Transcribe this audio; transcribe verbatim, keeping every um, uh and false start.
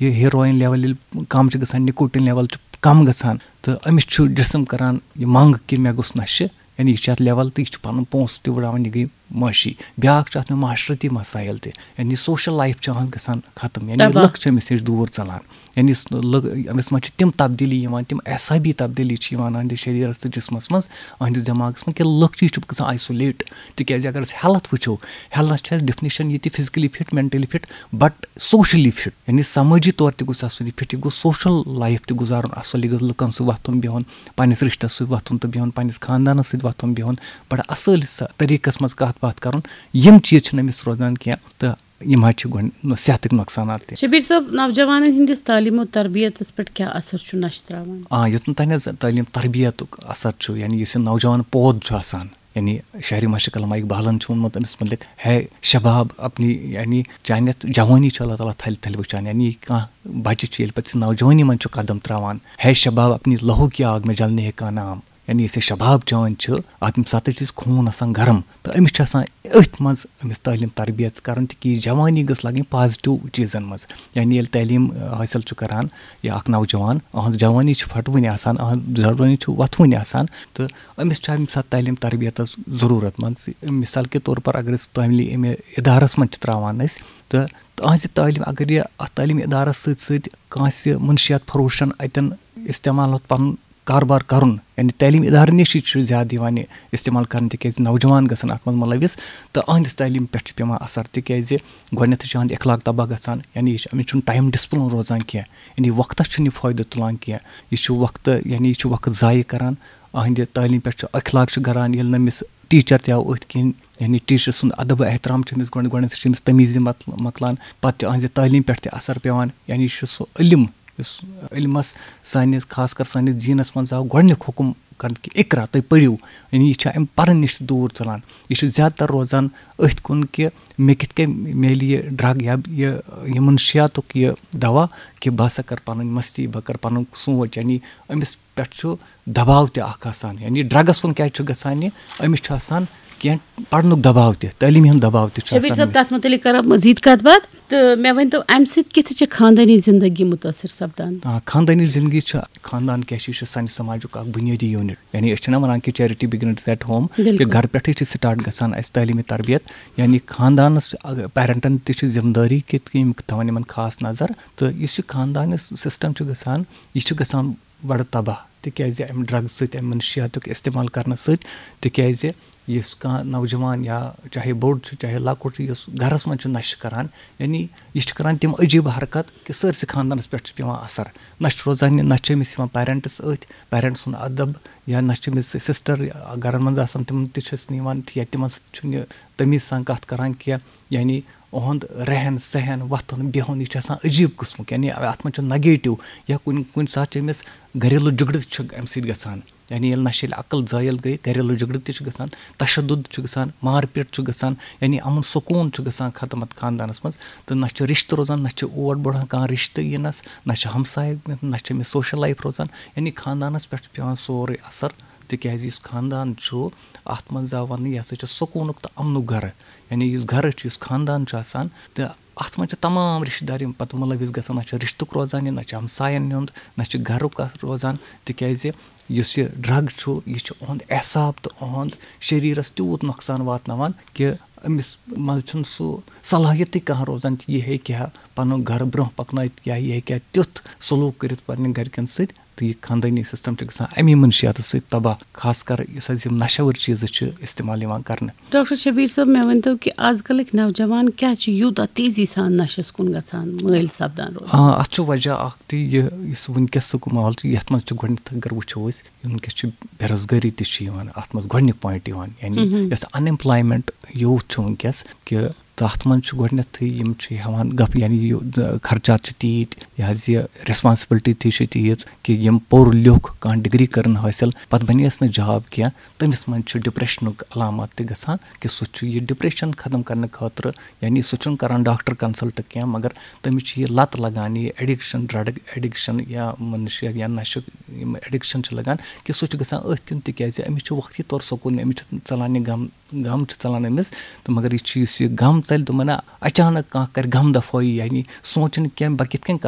یہِ heroine level ییٚلہِ کم چھِ گژھان، نِکوٹِن لیول چھُ کم گژھان، تہٕ أمِس چھُ جسم کران یہِ منٛگ کہِ مےٚ گوٚژھ نشہٕ، یعنی یہِ چھُ اَتھ لیول تہٕ یہِ چھُ پَنُن پونٛسہٕ تہِ وٕڑاوان، یہِ گٔے معاشی۔ بیٛاکھ چھُ اَتھ منٛز معاشرتی مسائل تہِ، یعنی سوشل لایف چھِ أہٕنٛز گژھان ختم، یعنی تباہ۔ لُکھ چھِ أمِس نِش دوٗر ژَلان، یعنی س-، لُکھ، أمِس منٛز چھِ تِم تبدیٖلی یِوان، تِم اعصابی تبدیٖلی چھِ یِوان أہٕنٛدِس شریٖرَس تہٕ جسمَس منٛز، أہٕنٛدِس دٮ۪ماغَس منٛز، کہِ لُکھ چھِ، یہِ چھُ گژھان آیسولیٹ۔ تِکیٛازِ اگر أسۍ ہیلتھ وٕچھو، ہیلتھ چھِ اَسہِ ڈیفینیشن یہِ تہِ physically fit, mentally fit, but socially fit, یعنی سمٲجی طور تہِ گوٚژھ آسُن یہِ فٹ، یہِ گوٚژھ سوشل لایف تہِ گُزارُن اَصٕل، یہِ گوٚژھ لُکَن سۭتۍ وۄتھُن بِہُن، پننِس رِشتَس سۭتۍ وۄتھُن تہٕ بِہُن، پننِس خاندانَس سۭتۍ وۄتھُن بِہُن، بڑٕ اَصٕل سا-، طریٖقَس منٛز کَتھ باتھ کَرُن۔ یِم چیٖز چھِنہٕ أمِس روزان کینٛہہ، تہٕ یِم حظ چھِ گۄڈٕ نۄ-، صحتٕکۍ نۄقصانات تہِ۔ شبیر صٲب، نوجوانن ہٕنٛدِس تعلیٖم و تربیتس پٮ۪ٹھ کیٛاہ اثر چھُ نشہٕ ترٛاوان؟ آ، یوٚتَن تام حظ تعلیٖم تربیتُک اثر چھُ، یعنی یُس یہِ نوجوان پود چھُ آسان، یعنی شاعرِ مشرق علامہ اقبالن چھُ ووٚنمُت أمِس مُتعلق، ہے شباب اپنی، یعنی چانہِ یَتھ جوانی چھِ اللہ تعالیٰ تھلہِ تھلہِ وٕچھان، یعنی کانٛہہ بچہِ چھُ ییٚلہِ پتہٕ سُہ نوجوانی منٛز چھُ قدم ترٛاوان، ہے شباب اپنی لہو کی آگ میں جلنے کا نام، یعنی یُس یہِ شباب چٲنۍ چھِ، اَتھ ییٚمہِ ساتہٕ چھِ أسۍ خوٗن آسان گرم، تہٕ أمِس چھِ آسان أتھۍ منٛز أمِس تعلیٖم تربیت کَرُن، تہِ کہِ یہِ جوانی گٔژھ لَگٕنۍ پازِٹِو چیٖزَن منٛز۔ یعنی ییٚلہِ تعلیٖم، آ، حٲصِل چھُ کَران یا اَکھ نوجوان، أہٕنٛز جوانی چھِ پھَٹوٕنۍ آسان، أہٕنٛز جوانی چھِ وۄتھوٕنۍ آسان، تہٕ أمِس چھُ اَمہِ ساتہٕ تعلیٖم تربیتَس ضروٗرت منٛز۔ مثال کے طور پر اگر أسۍ تعلیٖمی اِدارَس منٛز چھِ ترٛاوان أسۍ، تہٕ تہٕ أہٕنٛزِ تعلیٖم، اگر یہِ اَتھ تعلیٖمی اِدارَس سۭتۍ سۭتۍ کٲنٛسہِ منشیات فروشَن اَتٮ۪ن استعمال پَنُن کاربار کَرُن، یعنی تعلیٖم اِدارٕ نِشی چھُ زیادٕ یِوان یہِ استعمال کَرنہٕ، تِکیٛازِ نوجوان گژھن اَتھ منٛز مُلوث، تہٕ أہٕنٛدِس تعلیٖم پٮ۪ٹھ چھُ پٮ۪وان اَثر، تِکیٛازِ گۄڈٕنٮ۪تھٕے چھُ أہٕنٛدِ اخلاق تباہ گژھان، یعنی یہِ چھُ، أمِس چھُنہٕ ٹایم ڈِسپلِن روزان کینٛہہ، یعنی وقتَس چھُنہٕ یہِ فٲیدٕ تُلان کینٛہہ، یہِ چھُ وقتہٕ، یعنی یہِ چھُ وقت ضایع کَران، أہٕنٛدِ تعلیٖم پٮ۪ٹھ چھُ اخلاق چھُ گَران، ییٚلہِ نہٕ أمِس ٹیٖچَر تہِ آو أتھۍ کِنۍ، یعنی ٹیٖچَر سُنٛد ادب و احترام چھُ أمِس گۄڈٕ، گۄڈٕنٮ۪تھٕے چھُ أمِس تمیٖزی مۄکل-، مۄکلان، پَتہٕ چھُ أہٕنٛزِ تعلیٖم پٮ۪ٹھ تہِ اَثر پٮ۪وان، یعنی یہِ چھُ سُہ علم یُس علمَس سانِس، خاص کر سانِس دیٖنَس منٛز آو گۄڈٕنیُک حُکُم کرنہٕ کہِ اقرا، تُہۍ پٔرِو، یعنی یہِ چھُ اَمہِ پَرُن نِش تہِ دوٗر ژَلان۔ یہِ چھُ زیادٕ تر روزان أتھۍ کُن کہِ مےٚ کِتھ کٔنۍ میلہِ یہِ ڈرگ یا یہِ، یہِ منشیاتُک یہِ دوا، کہِ بہٕ ہسا کر پَنٕنۍ مستی، بہٕ کر پَنُن سونٛچ، یعنی أمِس پٮ۪ٹھ چھُ دباو تہِ اکھ آسان۔ یعنی ڈرگس کُن کیازِ چھُ گژھان یہِ؟ أمِس چھُ آسان کینٛہہ پرنُک دباو تہِ، تعلیٖمی ہُنٛد دباو تہِ چھُ شبیر آسان صٲب، أمِس۔ تَتھ مُتعلِق کرو مزید کتھ باتھ۔ تہٕ مےٚ ؤنۍ تو، امہِ سۭتۍ کِتھ چھِ خاندٲنی زندگی مُتٲثر سپدان؟ آ، خاندٲنی زندگی چھِ، خاندان کیٛاہ چھِ؟ یہِ چھُ سانہِ سماجُک اکھ بُنیٲدی یوٗنٹ۔ یعنی أسۍ چھِنہ ونان کہِ charity begins at home، بِلکُل۔ کہِ گرٕ پٮ۪ٹھٕے چھِ start گژھان اَسہِ تعلیٖمی تربیت۔ یعنی خاندانس، اگر پیرنٹن تہِ چھِ ذمہٕ دٲری کہِ یِم تھاوَن یِمن خاص نظر۔ تہٕ یُس یہِ خاندانی system چھُ گژھان، یہِ چھُ گژھان بڑٕ تباہ، تِکیٛازِ اَمہِ ڈرگ سۭتۍ، اَمہِ منشیاتُک استعمال کرنہٕ سۭتۍ۔ تِکیٛازِ یُس کانٛہہ نوجوان یا چاہے بوٚڑ چھُ، چاہے لۄکُٹ چھُ، یُس گرس منٛز چھُ نشہٕ کران، یعنی یہِ چھُ کران تِم عجیٖب حرکت کہِ سٲرسٕے خاندانس پٮ۪ٹھ چھُ پٮ۪وان اثر۔ نہ چھُ روزان یہِ، نہ چھِ أمِس یِوان پیرنٹس أتھۍ، پیرنٹ سُنٛد ادب، یا نہ چھِ أمِس سسٹر گرن منٛز آسان، تِمن تہِ چھِ أسۍ نِوان یا تِمن سۭتۍ چھُنہٕ یہِ تمیٖز سان کتھ کران کینٛہہ، یعنی اُہُنٛد رہن سہن، وۄتھُن بِہُن، یہِ چھُ آسان عجیٖب قٕسمُک، یعنی اَتھ منٛز چھُ نگیٹو، یا کُنہِ، کُنہِ ساتہٕ چھُ أمِس گریلو جھگڑٕ چھُ اَمہِ سۭتۍ گژھان، یعنی ییٚلہِ نشہِ، ییٚلہِ عقل زٲیِل گٔے، گریلو جھگڑٕ تہِ چھُ گژھان، تشدد چھُ گژھان، مار پیٖٹ چھُ گژھان، یعنی امن سکوٗن چھُ گژھان ختم اتھ خاندانس منٛز، تہٕ نہ چھُ رِشتہٕ روزان، نہ چھُ اور بڑان، کانٛہہ رِشتہٕ یِنس، نہ چھُ ہمسایہِ، نہ چھُ أمِس سوشل لایف روزان، یعنی خاندانس پٮ۪ٹھ چھُ پٮ۪وان سورُے اثر، تِکیٛازِ یُس خاندان چھُ، اتھ منٛز آو وننہٕ، یہِ ہسا چھُ سکوٗنُک تہٕ امنُک گرٕ۔ یعنی یُس گرٕ چھُ، یُس خاندان چھُ آسان، تہٕ اتھ منٛز چھِ تمام رشتہٕ دار یِم پتہٕ مُلوث گژھان، نہ چھُ رشتُک روزان یہِ، نہ چھُ ہمساین ہُنٛد، نہ چھُ گرُک اکھ روزان، تِکیٛازِ یُس یہِ ڈرگ چھُ، یہِ چھُ اُہُنٛد اعصاب تہٕ اُہُنٛد شریرس تیوٗت نۄقصان واتناوان کہِ أمِس منٛز چھُنہٕ سُہ صلاحیتٕے کانٛہہ روزان کہِ یہِ ہیٚکہِ ہا پنُن گرٕ برٛونٛہہ پکنٲیِتھ یا یہِ ہیٚکہِ ہا تیُتھ سلوک کٔرِتھ پننٮ۪ن گرِکٮ۪ن سۭتۍ۔ تہٕ یہِ خاندٲنی system چھُ گژھان اَمی منشیاتہٕ سۭتۍ تباہ، خاص کر یُس حظ یِم نشہٕ وٲرۍ چیٖزٕ چھِ استعمال یِوان کرنہٕ۔ ڈاکٹر شبیر صٲب، مےٚ ؤنۍ تو کہِ آز کلٕکۍ نوجوان کیٛاہ چھِ یوٗتاہ تیزی سان نشس کُن گژھان، مٲیِل سپدان روزان؟ آ، اتھ چھُ وجہ اکھ تہِ یہِ، یُس وٕنکیٚسُک ماحول چھُ، یتھ منٛز چھُ گۄڈٕنیتھ اگر وٕچھو أسۍ، وٕنکیٚس چھِ بے روزگٲری تہِ چھِ یِوان اتھ منٛز گۄڈٕنیُک point یِوان، یعنی مہم۔ یۄس unemployment youth چھُ وٕنکیٚس کہِ تہٕ اَتھ منٛز چھُ گۄڈٕنٮ۪تھٕے یِم چھِ ہٮ۪وان گپ، یعنی یہِ، خرچات چھِ تیٖتۍ، یہِ حظ یہِ responsibility تہِ چھِ تیٖژ کہِ یِم پوٚر لیوٚکھ، کانٛہہ ڈگری کٔرٕن حٲصِل، پتہٕ بنیس نہٕ job کینٛہہ، تٔمِس منٛز چھُ depressionُک علامات تہِ گژھان کہِ سُہ چھُ یہِ depression ختم کرنہٕ خٲطرٕ، یعنی سُہ چھُنہٕ کران doctor consult کینٛہہ، مگر تٔمِس چھِ یہِ لت لگان، یہِ addiction، drug addiction یا منشیات یا نشہٕ یِم addiction چھِ لگان، کہِ سُہ چھُ گژھان أتھۍ کِنۍ، تِکیازِ أمِس چھُ وقتی طور سکوٗن، أمِس چھُ ژلان یہِ غم، غم چھُ ژلان أمِس۔ تہٕ مگر یہِ چھُ، یُس یہِ غم ژَلہِ، دوٚپمَے نہ، اچانک کانٛہہ کَرِ غم دفٲیی، یعنی سونٛچُن کینٛہہ، بہٕ کِتھ کٔنۍ کَرٕ